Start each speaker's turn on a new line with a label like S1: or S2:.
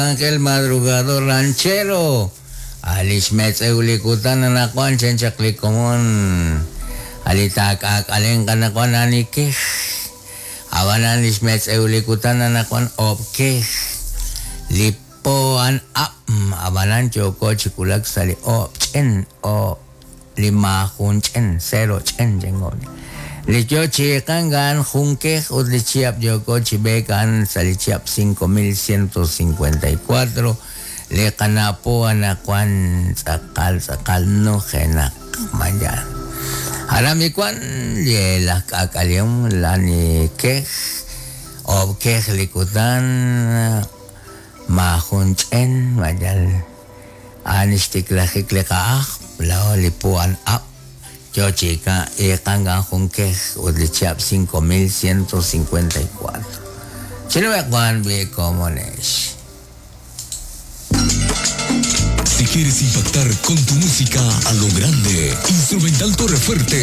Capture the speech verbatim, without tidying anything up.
S1: Ángel Madrugador Ranchero alix metz'ewlikutan anaqwan chan chaq li komon alita k'aak'alen qanaqwan anikej abanan lix metz'ewlikutan anaqwan ob'kej li po an ab' abanan yooko chi wulak sa' li oob' ch'en oob' li maajun ch'en cero ch'en chengon li yo chi iqan jun kej ut li chihab' yooko chi b'eek a'an sa' li chihab' cinco mil ciento cincuenta y cuatro li qanapo anaqwan tz'aqal tz'aqal nujenaq mañana aram ikuan li laj k'aak'alehom lani kej oob' kej li kutan maajun ch'en mayal a'an xtiklajik li qa'aj lao li po an ab' yo chi iqan jun kej ut li chihab' cinco mil ciento cincuenta y cuatro chinueqwan bi komonex.
S2: Si quieres impactar con tu música a lo grande, Instrumental Torrefuerte